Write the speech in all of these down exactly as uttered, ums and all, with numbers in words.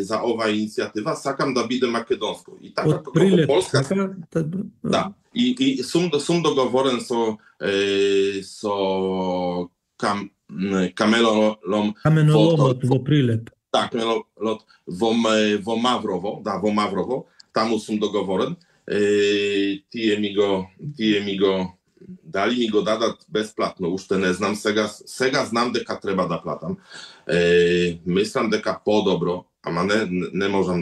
за оваа иницијатива, сакам да биде македонско. И така Од Прилеп, Полска, така? Да, и, и сум, сум договорен со, е, со кам, каменолом Каменоломот во Прилеп. Да, каменолот во, во Маврово, да, во Маврово, таму сум договорен. Е, тие ми го, тие ми го дали ми го дадат бесплатно, уште не знам, сега сега знам дека треба да платам. Е, мислам дека подобро, ама не не можам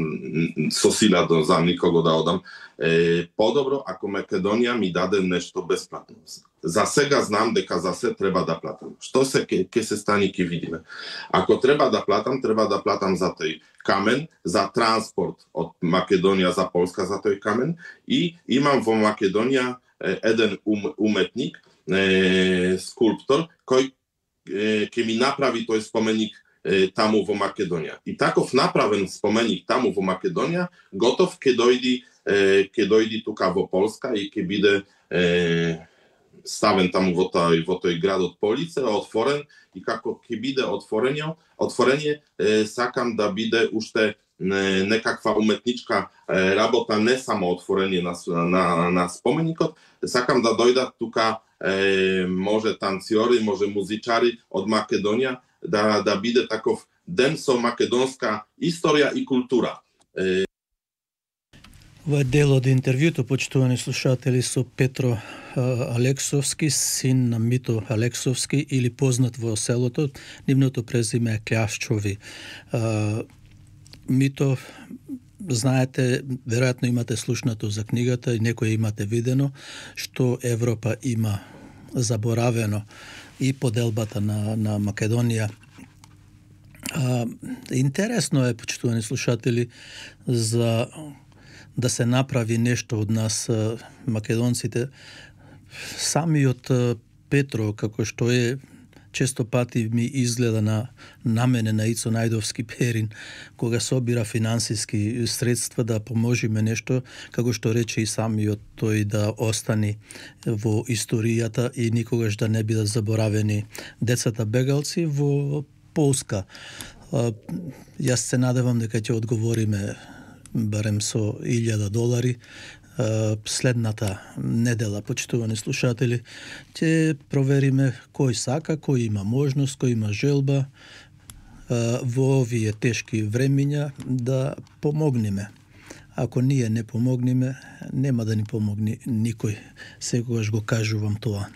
со сила да за никого да одам. Е, подобро ако Македонија ми даде нешто бесплатно. За сега знам дека за се треба да платам. Што се ке, ке се стани ќе видиме. Ако треба да платам, треба да платам за тој камен, за транспорт од Македонија за Полска за тој камен и имам во Македонија еден ум, уметник, е, скулптор, кој е, ќе ми направи тој споменик е, таму во Македонија. И таков направен споменик таму во Македонија, готов ќе дојди, е, ќе дојди тука во Полска и ќе биде е, ставен таму во тој во тој градот Полице, отворен и како ќе биде отворење, отворење е, сакам да биде уште не, некаква уметничка е, работа, не само отворење на, на, на споменикот, сакам да дојдат тука е, може танцори, може музичари од Македонија, да, да биде таков ден со македонска историја и култура. Е... Ова е дел од интервјуто, почитувани слушатели, со Петро Алексовски, син на Мито Алексовски, или познат во селото. Нивното презиме е Кљашчови. Мито, знаете, веројатно имате слушнато за книгата и некој имате видено, што Европа има заборавено и поделбата на, на Македонија. А, интересно е, почитувани слушатели, за да се направи нешто од нас, македонците. Самиот Петро, како што е, често пати ми изгледа на, на мене, на Ицо Најдовски Перин, кога собира финансиски средства да поможиме нешто, како што рече и самиот тој, да остани во историјата и никогаш да не бидат заборавени децата бегалци во Полска. Јас се надевам дека ќе одговориме барем со илјада долари. Следната недела, почитувани слушатели, ќе провериме кој сака, кој има можност, кој има желба во овие тешки времиња да помогнеме. Ако ние не помогнеме, нема да ни помогне никој. Секогаш го кажувам тоа.